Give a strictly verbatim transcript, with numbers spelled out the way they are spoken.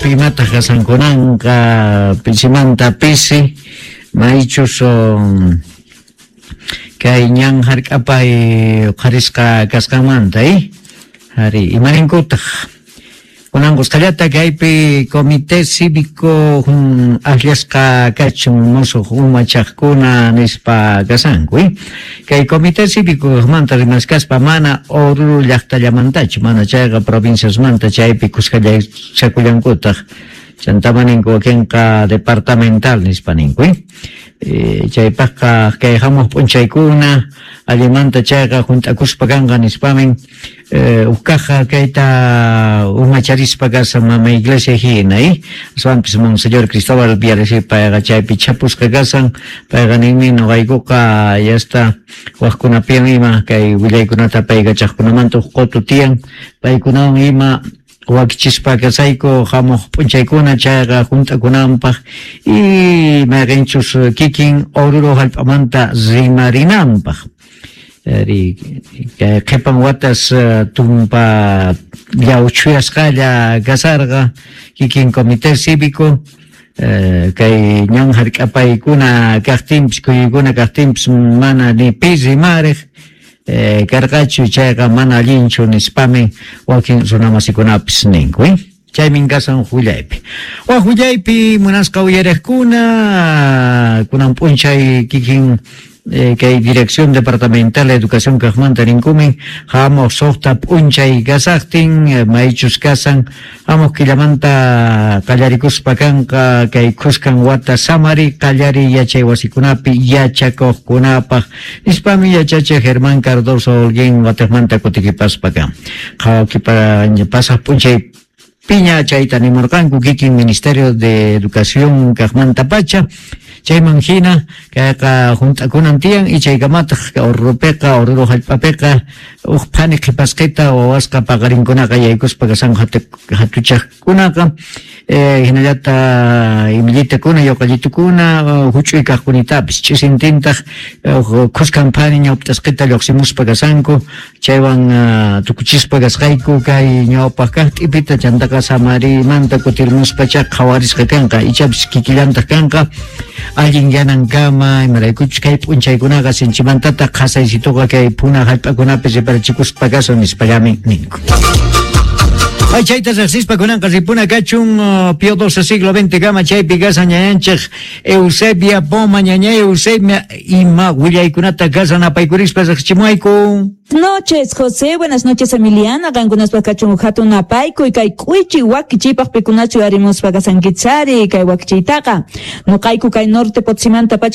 Llaqtapi imataq kasankunanqa pisimanta pisi maychus kay ñan hark'apay uqharisqa kasqanmanta eh ari imarinkutaq kunan kusqallata kaypi comité cívico akllasqa kachun musuq umachaqkuna nispa kasanku eh kay comité cívico kaqmanta rimaskaspa mana Oruro llaqtallamantachu mana chayqa provinciasmanta chaypi kusqallachakullankutaq chantama ninku wakinqa departamental nispa ninku eh chaypaqqa kay hamuq p'unchaykuna allimanta chayqa hunt'akuspa kanqa nispamin uqkaqqa kayta umacharispa kasan mama iglesia hina eh aswanpis Monseñor Cristóbal Bialecki payqa chaypi chapusqa kasan payqa ninmi nuqaykuqa yasta waqkunapiwan ima kay willaykunata paykachaqkunamanta huk qutu tiyan paykunawan ima wakichispa kasayku hamuq p'unchaykuna chayqa hunt'akunanpaq y mayqinchus kikin Oruro hallp'amanta rimarinanpaq ari kay qhipan watas tumpa llawchuyasqalla kasarqa kikin comité cívico kay ñan hark'apaykuna kaqtinpis kuyuykuna kaqtinpis mana ni pi rimariq karqachu chayqa mana allinchu nispami wakin runamasikunapis ninku eh chaymin kasan willaypi waq willaypi munasqa uyariqkuna kunan p'unchay kikin kay Dirección Departamental de Educación kaqmanta ninkumin hamuq suqta p'unchay kasaqtin maychus kasan hamuq killamanta qallarikuspa kanqa kay khuskan wata samari qallari yachay wasikunapi yachakuqkunapaq nispami yachachiq Germán Cardoso Holguín watiqmanta kutikipaspa kan qhawakipa pasaq p'unchay piña chayta nimurqanku kikin Ministerio de Educación kaqmanta pacha chayman hina kayqa hunt'akunan tiyan y chaykamataq Oruropiqa Oruro hallp'apiqa huk phani qhipasqita wawasqa paqarinkunaqa yaykuspa kasanku hatuchaqkunaqa hinallata imillitakuna yuqallitukuna huch'uy kaqkunitapis ch'isintintaq khuskan phani ñawptasqita lluqsimuspa kasanku chaywan tukuchispa kasqayku kay ñawpaq kaq t'ipita chantaqa samarimanta kutirmuspacha qhawarisqa kanqa ichapis kikillantaq kanqa allin yanankama imaraykuchus kay p'unchaykunaqa sinchimantataq qhasaysituqa kay puna hallp'akunapi riparachikuspa kasun nispallami ninku. Ay chayta riqsispa kunanqa ripuna kachun Pío doce siglo veinte kama chaypi kasan ñañanchik Eusebia Poma ñaña Eusebia ima willaykunata kasan apaykurispa riqsichimuayku. Noches, José, buenas noches, Emiliana, qankunaspa kachun hatun apaykuy kay k'uychi wakichiypaq pikunachu arimuspa kasankichari kay wakichiytaqa nuqayku kay norte Potosímanta pacha.